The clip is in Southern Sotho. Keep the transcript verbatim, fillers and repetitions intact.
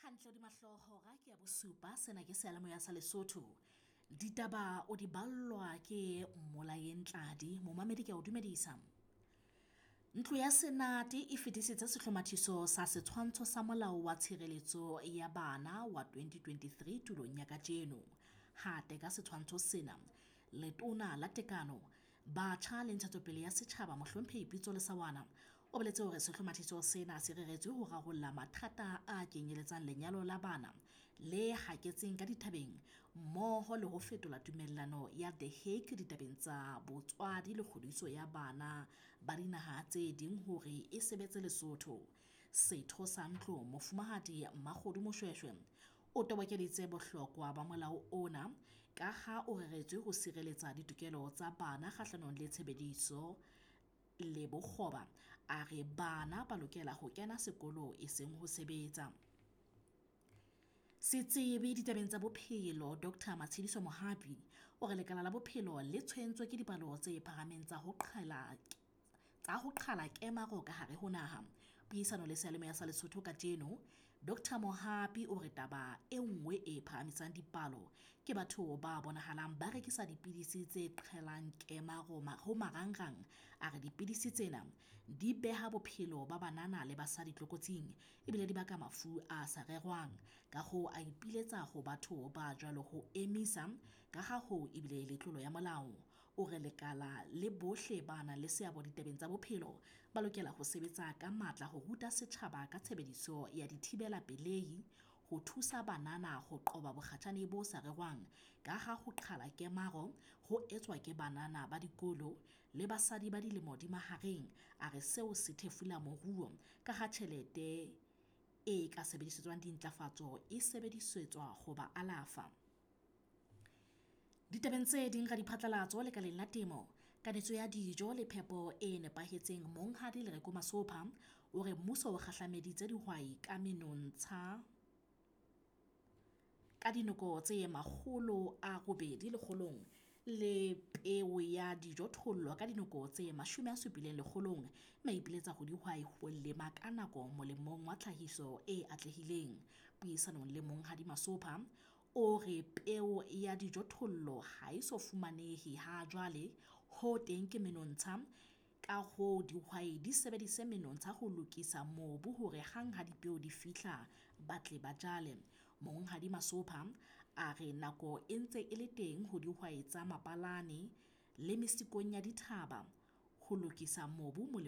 Hantle hodima hlooho hora ke ya bosupa, sena ke seyalemoya sa Lesotho. Ditaba o di ballwa ke Mmolayeng Tladi, momamedi ke a o dumedisa. Ntlo ya Senate e fetisitse sehlomathiso sa Setshwantsho sa Molao wa Tshireletso ya Bana wa twenty twenty-three tulong ya kajeno. Ha teka setshwantsho sena, Letona la Tekano, Batjha le Ntshetsopele ya Setjhaba Mohlomphehi Pitso Lesaoana o boletse hore sehlomathiso sena se reretswe ho rarolla mathata a kenyeletsang lenyalo la bana le haketseng ka dithabeng mmoho le ho fetola tumellano ya The Hague ditabeng tsa botswadi le kgodiso ya bana ba dinaha tse ding hore e sebetse Lesotho. Setho sa ntlo Mofumahadi Mmakgodu Moshweshwe o tobokeditse bohlokwa ba molao ona ka ha o reretswe ho sireletsa ditokelo tsa bana kgahlanong le tshebediso le bokgoba. A re bana ba lokela ho kena sekolo e seng ho sebetsa. Setsebi ditabeng tsa bophelo Doctor Matshidiso Mohapi o re lekala la bophelo le tshwentswe ke dipalo tse phahameng tsa ho qhala tsa ho qhala kemaro ka hare ho naha. Puisano le seyalemoya sa Lesotho kajeno, Doctor Mohapi o re taba e nngwe e phahamisang dipalo ke batho ba bonahalang ba rekisa dipidisi tse qhelang kemaro ho marangrang. A re dipidisi tsena di beha bophelo ba banana le basadi tlokotsing ebile di baka mafu a sa rerwang. Ka hoo a ipiletsa ho batho ba jwalo ho emisa ka ha hoo ebile le tlolo ya molao. O re lekala le bohle ba nang le seabo ditabeng tsa bophelo ba lokela ho sebetsa ka matla ho ruta setjhaba ka tshebediso ya dithibela pelehi ho thusa banana ho qoba bokgatjhane bo sa rerwang ka ha ho qhala kemaro ho etswa ke banana ba dikolo le basadi ba dilemo di mahareng. A re seo se thefula moruo ka ha tjhelete e ka sebedisetswang dintlafatso e sebedisetswa ho ba alafa. Ditabeng tse ding ra diphatlalatso lekaleng la temo, kanetso ya dijo le phepo e nepahetseng Monghadi Lereko Masopha o re mmuso o kgahlameditse dihwai ka menontsha ka dinoko tse makgolo a robedi lekgolong le peo ya dijothollo ka dinoko tse mashome a supileng lekgolong, mme a ipiletsa ho dihwai ho lema ka nako molemong wa tlhahiso e atlehileng. Puisanong le Monghadi Masopha o re peo ya dijothollo ha e so fumanehe ha jwale, ho teng ke menontsha, ka hoo dihwai di sebedise menontsha ho lokisa mobu hore hang ha dipeo di fihla ba tle ba jale. Monghadi Masopha a re nako e ntse e le teng ho dihwai tsa mabalane le mesikong ya dithaba ho lokisa mobu molemong